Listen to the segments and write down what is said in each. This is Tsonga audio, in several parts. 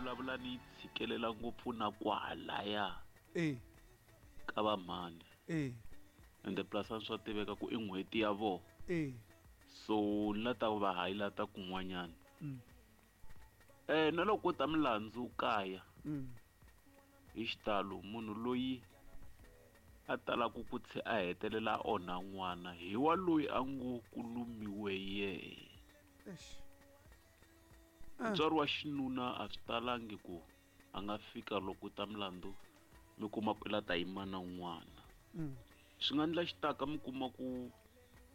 vulavula ni yi tshikelela ngopfu na kwahalaya e ka va mhani. E Ende plus a swa tiveka ku i n'hweti ya vona. E So ni la ta va highlight-a kun'wanyana. Na loko ko ta milandzu kaya hi xitalo munhu loyi a talaku ku a hetelela a onha n'wana hi wa loyi a ngo ku lumiwe yehe. Eish. Mutswari wa xinuna a swi talangi ku a nga fika loko ta milandzu mi kuma ku i la ta yima na n'wana. Swi nga endla xitaka mi kuma ku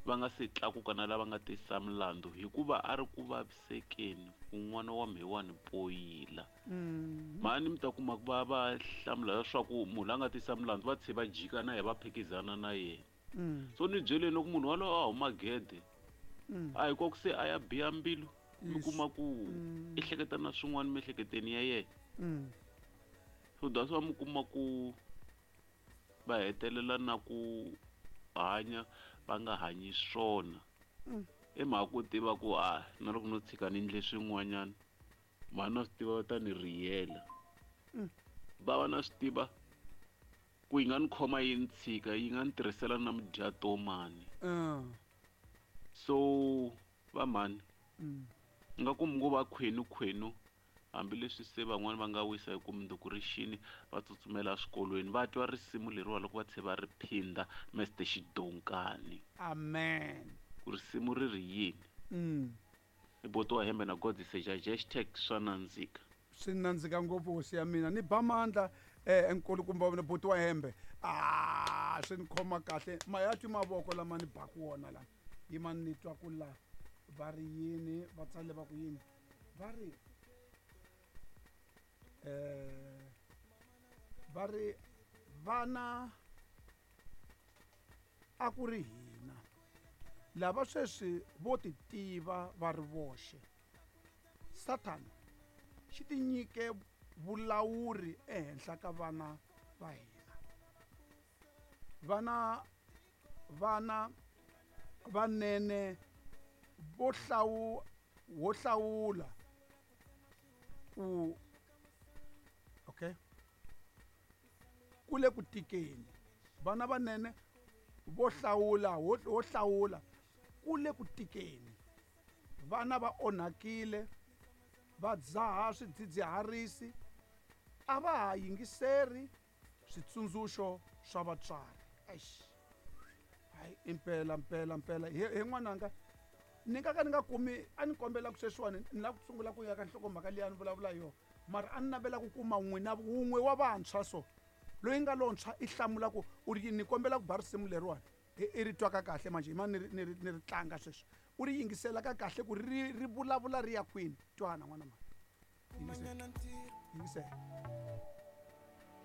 va nga se tlakuka na lava nga tisa milandzu hikuva a ri ku vavisekeni ku n'wana wa mhewani poyila. Mhani mi ta kuma ku va va hlamula leswaku munhu la nga tisa milandzu va tlhe va jika na yena va phikizana na yena. So ni byeleni loko munhu walowo a huma gede a hi ku se a ya biha mbilu mi kuma ku i hleketa na swin'wana miehleketweni ya yena. So that's why mi kuma ku va hetelela na ku hanya va nga hanyi swona. I mhaka ku tiva ku a na loko no tshika ni endle swin'wanyana mhani na swi tiva va ta ni riyela. Va va na swi tiva ku yi nga ni khoma yi ni tshika yi nga ni tirhisela na mudyatomani. So va mhani nga ku mi ngo va khwenu khwenu hambileswi se van'wani va nga wisa hi ku mundzuku ri xini va tsutsumela eswikolweni va twa risimu leriwa loko va tlhe va ri phinda Mr Xidonkani. Amen. Ku risimu ri ri yini? I boti wa hembe na God seja hashtag swa nandzika. Swi nandzika ngopfu hosi ya mina ni ba mandla nkulukumba wa boti wa hembe. Ah, swi ni khoma kahle ma ya twi mavoko lama ni baku wona lama yima ni twa ku la va ri yini va tsale va ku yini va ri va ri vana a ku ri hina lava sweswi vo ti tiva va ri voxe. Sathana xi ti nyike vulawuri ehenhla ka vana va hina. Vana vana vanene vo wo hlawula ku okay ku le ku tikeni vana vanene vo hlawula wo hlawula ku le ku tikeni vana va onhakile va dzaha swidzidziharisi a va ha yingiseri switsundzuxo swa vatswari. Eish, hayi impela mpela mpela he n'wananga ni nga ka ni nga kumi a ni kombela ku sweswiwani ni lava ku sungula ku ya ka nhlokomhaka liya ni vulavula yona mara a ni navela ku kuma n'wina wun'we wa vantshwa so loyi nga lontshwa i hlamula ku u ri ni kombela ku ba risimu leriwani i ri twaka kahle manje yima ni ri tlanga sweswi u ri yingisela ka kahle ku ri ri vulavula ri ya kwini twana n'wana mani yingisela yingisela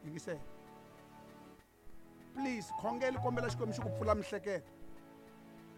yingisela please khongela kombela Xikwembu xi ku pfula mihleketo.